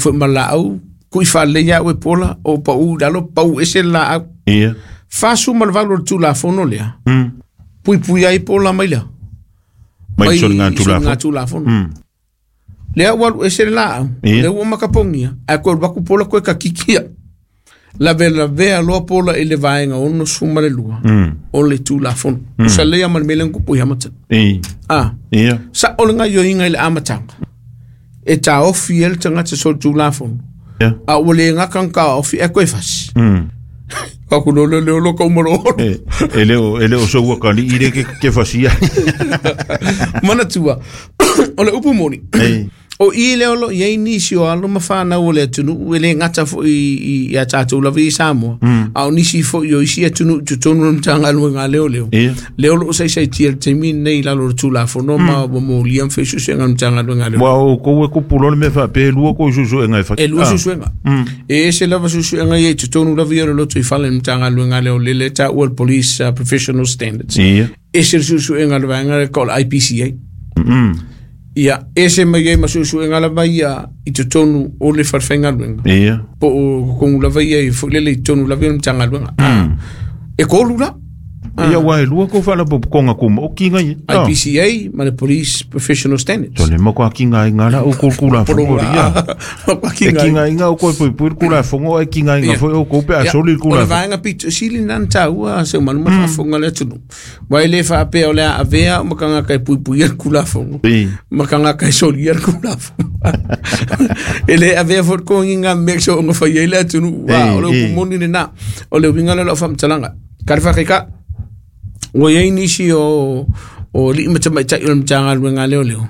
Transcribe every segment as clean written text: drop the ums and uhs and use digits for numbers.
foi ma laau kui faalelei au e pola o pau i lalo pau ese le laau. Ia. 48 o le Tulafono lea. Puipui ai pola mai lea. Mai soligatulafono. Tulafono. Lea ua alu ese le laau. Ia. Lea ua makapogia. Ae koe alu atu pola koe kakikia. Lavelavea loa pola i le vaega 62 o le Tulafono. Tusa lea ma le mea lea na tupu i Hamilton. E. Ah. Ia. Sa o le gaioiga i le amataga. E taofi ai le tagata solitulafono. Ia. A ua le gata ona taofi ae toe fasi. Ka ku lole leo lo ka umalo. E, e le o soua kali'i le ke fasia. Manatua. O le upu moni. E. O i lea o lo o i ai nisi o alo ma fanau o le atunuu e le gata foi i a tatou lava i Samoa, a o nisi foi o isi atunuu i totonu o le Matagaluega a Leoleo. Ia. Lea o lo o saisaitia i le taimi lenei i lalo o le Tulafono ma ua molia ma fai suesuega a le Matagaluega a Leoleo. Ua outou e kupu loa le mea faapea e lua kou suesuega e fai. E lua suesuega. E ese lava suesuega ia i totonu lava ia o le lotoifale i le Matagaluega a Leoleo lea e taua le Police Professional Standards. Ia. Ese le suesuega a le vaega lea o le IPCA. Ia, ese mai ai ma suesuega lava ia i totonu o le fale faigaluega. Ia. Po o totonu lava ia i foi lele i totonu lava ia o le Matagaluega. E tolu la. Ia ua e lua kou faalapotopotoga tumaoti ngai. IPCA ma le Police Professional Standards. So le matua kigaina la outou le Tulafono ia. E kigaina outou e puipui le Tulafono ae kigaina foi outou pe a soli le O le Tulafono. Vaega pito sili na na taua se manu ma faafofoga le atunuu. Ua e le faapea o le a avea ma tagata e puipuia le Tulafono. E. Ma tagata e solia le Tulafono. E le avea foi le togiga mea so ona fai ai le atunuu. O le upu moni lena. O le uiga lea o lau faamatalaga. Ka le faakaika. Ua i ai nisi o alii ma tamaitai o le Matagaluega a Leoleo.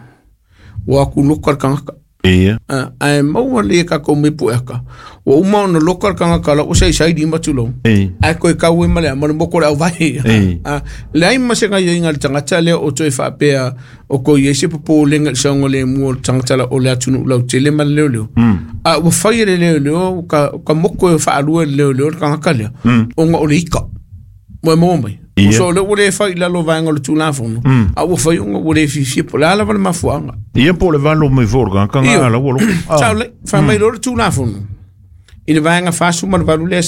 Ua atu loka le tagata. Ia. Ah, ae maua le tatou mea pueaka. Ua uma ona loka le tagata la ua saisai lima tulou. E. Ae koe kau e ma le ma le moko le auvae. E. Ah, leai ma se gaioiga a le tagata lea o toe faapea o ko i ai se popolega i le saogalemu o le tagata o le atunuu lautele ma le leoleo. A ua fai e le leoleo ka moko e faalua e le leoleo le tagata lea. Ona o le ika. Ua e maua mai. Ia. So lea ua le fai i lalo o vaega o le Tulafono. A ua fai ona ua le fiafia po o le a lava le mafuaaga. Ia po o le valo mai foi o le tagata Io. nga ala ua loko. Sao lelei, fai mai loa le Tulafono. I le vaega 48 lea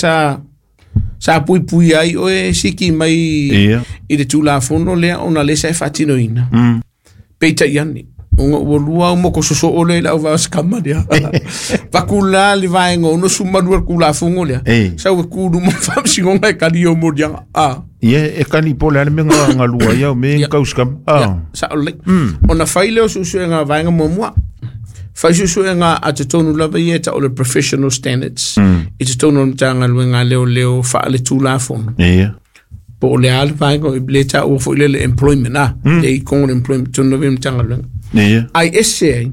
sa puipui ai oe siki mai Ia. i le Tulafono lea ona lea sa e faatinoina. Peitai ane, ona ua lua au moko sosoo lea i le auvaa sikama lea. Vaku la le vaega 62 o le Tulafono lea. E. Sau e ku luma faamasinoga e kali o moliaga. Ah. Ia e kali po o le a le mea nga galua ai au me Ia. kausikama. Ia, sao lelei. Ona fai lea o suesuega vaega muamua. Fai suesuega a totonu lava ia e tau o le professional standards. I totonu o le Matagaluega a Leoleo faale-Tulafono. Ia. Po o le a le vaega o le taua foi lele employment a. Le i kongo le employment totonu lava ia o le Matagaluega. Ia. Ai ese ai,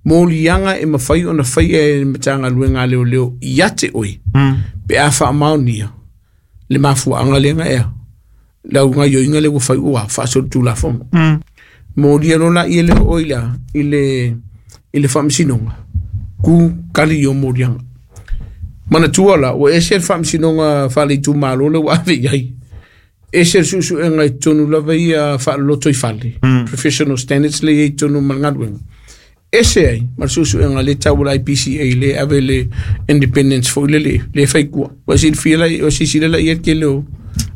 moliaga e mafai ona faia e le Matagaluega a Leoleo ia te oe. Pe a faamaonia le mafuaaga lea na ea. Lau gaioiga lea ua fai ua faasolitulafono. Molia loa laia lea o oe la i le faamasinoga. Ku kali i o moliaga. Manatua la, ua ese le faamasinoga faale-itumalo lea ua ave i ai. Ese le suesuega i totonu lava ia faaloloto i fale. Professional standards lea e i ai i totonu ma le galuega. Ese ai, ma le suesuega lea e tau o le IPCA le ave le independence foi lele, le fai kua. Ua silafia la, ua silasila la i ai le tele o.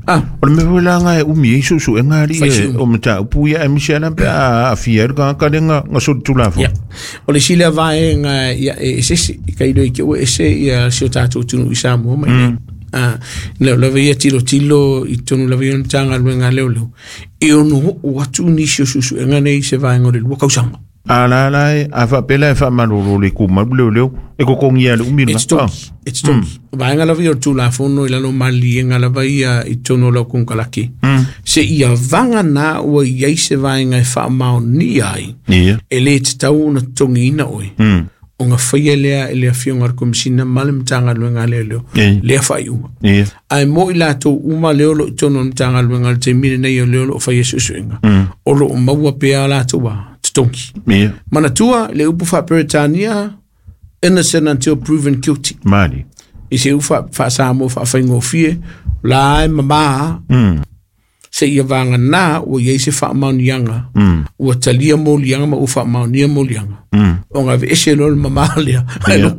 Ah, O le mea foi la nga e umi ai suesuega alii Fai e si umi. o mataupu ia aemaise lava pe a aafia ai le tagata lea nga solitulafono. Ia. O le isi lea vaega ia e esese, i ka iloa i te ua ese ia si o tatou atunuu i Samoa mai nei. Ah, leo lava ia tilotilo i totonu lava ia o le Matagaluega a Leoleo. E ono oo atu nisi o suesuega nei i se vaega o le 2 tausaga. A la la e a faapea la e faamalolo le tumau leoleo e totogia le umi E lena. totogi, e totogi. Vaega lava ia o le Tulafono i lalo o maliliega lava ia i totonu o lau konekarate. Se ia vaga na ua i ai se vaega e faamaonia ai, Ia. e le tatau ona totogiina oe. Ona faia lea e le afioga a le Komesina ma le Matagaluega a Leoleo E. lea faaiuga. Ia. Ae mo i latou uma lea o lo o i totonu o le Matagaluega i le taimi lenei o lea o lo o faia suesuega. O lo o maua pea latou a totogi. Ia. Manatua le upu faa-Peretania, innocent until proven guilty. Mali. I se upu faa-Samoa faafaigofie, la e mamā se ia vagana ua i ai se faamaoniaga ua talia moliaga ma ua faamaonia moliaga. Ona aveese loa le mamā lea, ae loka.